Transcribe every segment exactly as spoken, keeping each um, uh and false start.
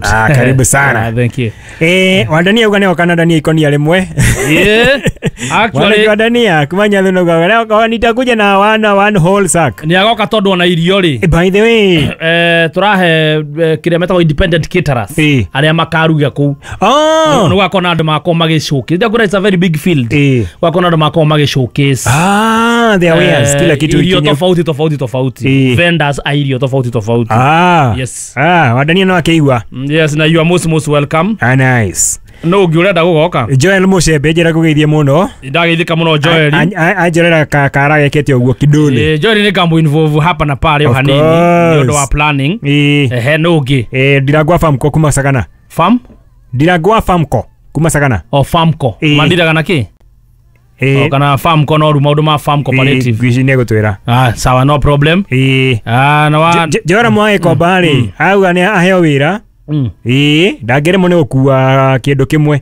Ah, karibu sana. Ah, thank you. Eh, wadania uga neo kana dania ikonia rimwe. Yeah. Actually wadania kumanya thuno ga nitakuja na wana one whole sack. Ni agoka tondu ona irio ri. By the way, eh turahe kiria metagwo independent caterers aria makaruga kuu. Oh. No gwakona andu makorwo magi showcase. Ndakura it's a very big field. Gwakona andu makorwo magi showcase. Ah, there wares kila kitu irio tofauti tofauti tofauti. Vendors a irio tofauti tofauti. Ah. Yes. Ah, wadania no akeigua. Yes, na you are most most welcome. Ah, nice. No ngiurenda gugoka. Joel Mushebe njira kugeithie muno. Ndageithika muno Joel. Anjorera kara gekete uguo kidole. Eh, Joel ni kambo involve hapa na pale o hanini ni undu wa planning. Eh, no ngi. Eh, ndiragwa Famco kuma Sagana. Farm? Ndiragwa Famco kuma Sagana. O Famco. Mandiraga na ki? Eh, kana Farm ko no ru maundu ma Farm Cooperative. Ngwici ni gutwira. Ah, sawa, no problem. Eh. Ah, na wa Jora mwae komba ri. Auga ni aheo wira. Ĩĩ ndangĩremwo nĩ gũkua kĩndũ kĩmwe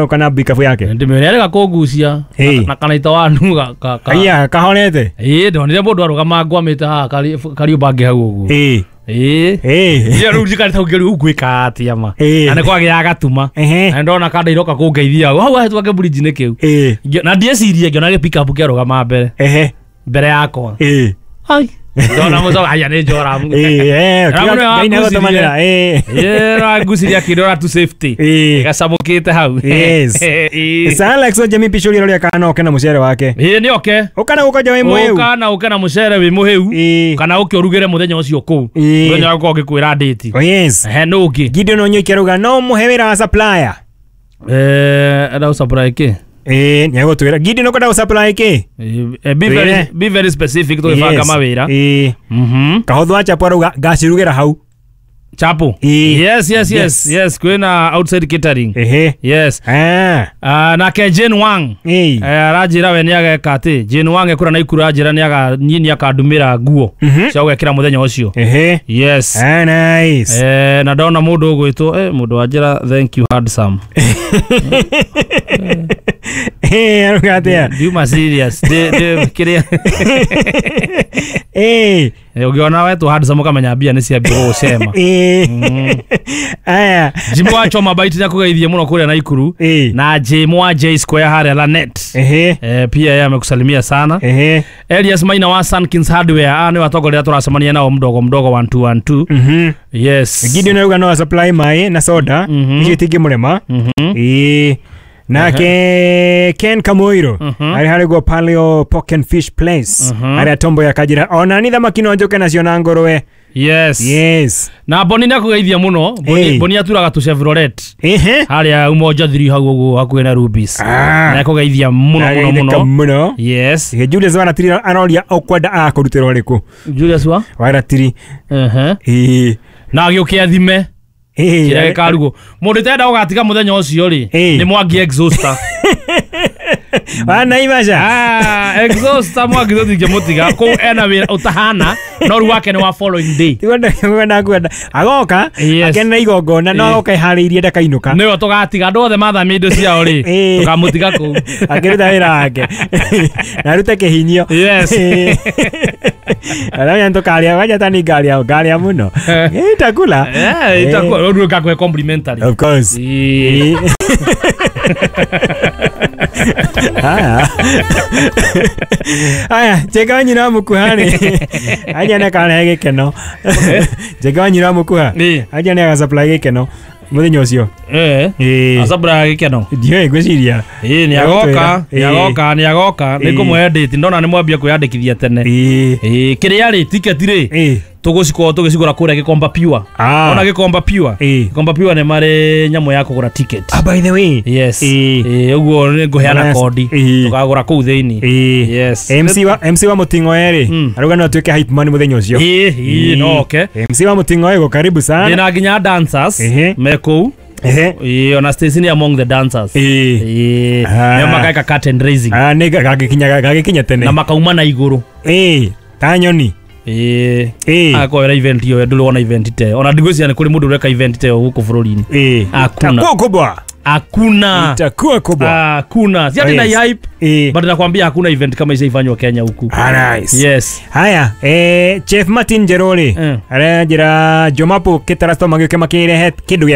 kana bikabu yake ndĩmĩrerega kũngucia na kanaita wanu ga aya kahorete. Ĩĩ ndonire mũndũ arũgama ngwamĩte haha Kariũmbangi hau ũguo. Ĩĩ ĩĩ ĩĩ rĩu njikarĩte hau ngĩrĩu ngwĩka atĩa ma na nĩ kwagĩa gatuma na ndona kanda iroka kũngeithia hau hahĩtũka kĩburinji-inĩ kĩu na ndiecirie ngĩona gĩ pickup kĩarũgama mbere mbere yakwa. Ĩĩ ai ndona muzo aya ni njora. Eh eh ngai na gotomanira. Eh eh ra nguciria kidora to safety gacamukite hau. Yes. Sir Alex o Jimmy Pichuri roria kana oke na mucere wake. Eh ni oke ukana gukoja wi muhiu ukana uke na mucere wi muhiu kana uke urugire muthenya ucio kuu muthenya uko ngikwira date. Oh yes. Eh no ngi Gideon Onyoike aruga no muhe wira wa supplier. Eh ada supply ki. Eh, ni agutwira Gideon ukwenda gusupply ki? Eh, be very be very specific to ibanga mawira. Eh. Mhm. Kahotho achapo aruga ngacirugera hau. Chapo. Yes, yes, yes, yes, kwina outside catering. Ehe. Yes. Ah. Ah, na ke Jane Wang. Eh, arajira we ni ageka ati Jane Wang ekura na ikura ajira ni aga ni akandumira nguo cia gwekira muthenya ucio. Ehe. Yes. Ah, nice. Eh, na ndona mundu ugwitwo eh mundu wanjira thank you handsome. Eh, aruga atia? You serious. De de kiria. Eh, ugiona wetu handsome ukamenya mbia ni cia mbia gucema. Aya. Jimbo wa Choma Bite na kugeithie muno kuria Naikuru na Jimo wa J Square haria Lanet. Ehe. Eh, pia yeye amekusalimia sana. Ehe. Elias Maina wa Sunkins Hardware ah ni watongoria turacemania nao mdogo mdogo one two one two. Mhm. Yes. Gideon aruga no supply mai na soda icio itingimurema. Eh. Nake Ken Kamoiro ari hari go Paleo Pork and Fish Place ari atombo ya kajira ona ni thamaki no njoke nacio na ngũrwe. Yes. Yes. Na Boni nakugeithia muno. Boni Boni aturaga tu Chevrolet. Ehe. Haria Umoja three hau uguo hakuhi na Rubis. Na kugeithia muno muno muno. Muno. Yes. Julius Waratiri aroria ukwenda akurutĩrwo rĩkũ. Julius wa? Waratiri. Ehe. Eh. Na agĩũke athime. Kĩrĩa gĩkarugo. Mũndũ ũtenda gũgatiga mũthenya ũcio rĩ, nĩ Mwangi exhauster. Wa Naivasha. Ah, exhauster Mwangi tũtingĩmũtiga. Kũu ena wĩra ũtahana, no rĩu wake nĩ wa following day. Tikwenda kwenda kwenda. Agoka akenera igongona no agoka iharĩirie ndakainũka. Nĩwe tũgatiga andũ othe mathamia indo ciao rĩ, tũkamũtiga kũu. Akĩruta wĩra wake. Na arute kĩhinyio. Yes. Arĩa tũkarĩa wanja tani ngaria ngaria mũno. Itakula. Eh, itakula. Rĩu ngakũhe complimentary. Of course. Haya. Haya, cheka nyina mukuha ni. Aja na karehe gikeno. Cheka nyina mukuha. Aja na agasupply gikeno. Muthenya ucio. Eh. Eh. Asupply gikeno. Ndiũĩ ngwĩciria. Eh, ni agoka, ni agoka, ni agoka. Nĩngũmũhe date, ndona nĩ mwambia kwĩyandĩkithia tene. Eh. Eh, kĩrĩa rĩ ticket rĩ. Eh. Tũgũcikorwo tũgĩcigũra kũrĩa Gĩkomba Pure. Ona Gĩkomba Pure. Gĩkomba Pure nĩ marĩ nyamũ ya kũgũra ticket. Ah, by the way. Yes. Eh, ũguo nĩ ngũheana kodi. Tũkagũra kũu thĩinĩ. Yes. M C wa M C wa Mũting'oe rĩ, aruga no atuĩke hype man mũthenya ũcio. Eh, eh, no okay. M C wa Mũting'oe go karibu sana. Ndĩna nginya dancers me kũu. Eh, ona Stacy ni among the dancers. Eh. Eh. Nĩo makaika curtain raising. Ah, nĩ gagĩkinya gagĩkinya tene. Na makauma na igũrũ. Eh, ta nyoni. Eh, eh, akoera event iyo nduri wona event te ona ndigwiciria nĩ kũrĩ mũndũ ũreka event te gũkũ bũrũri-inĩ. Eh, Hakuna. Gũkũ bwa. Hakuna. Itakuwa kubwa. Hakuna. Si ati Oh, na yes. hype. Eh. But nakwambia hakuna event kama hizo ifanywa Kenya huku. Ah, nice. Yes. Haya, eh, Chef Martin Jeroli Mm. aranjĩra Jomapu kĩtarasto magĩũke makĩrehe kĩndũ gĩa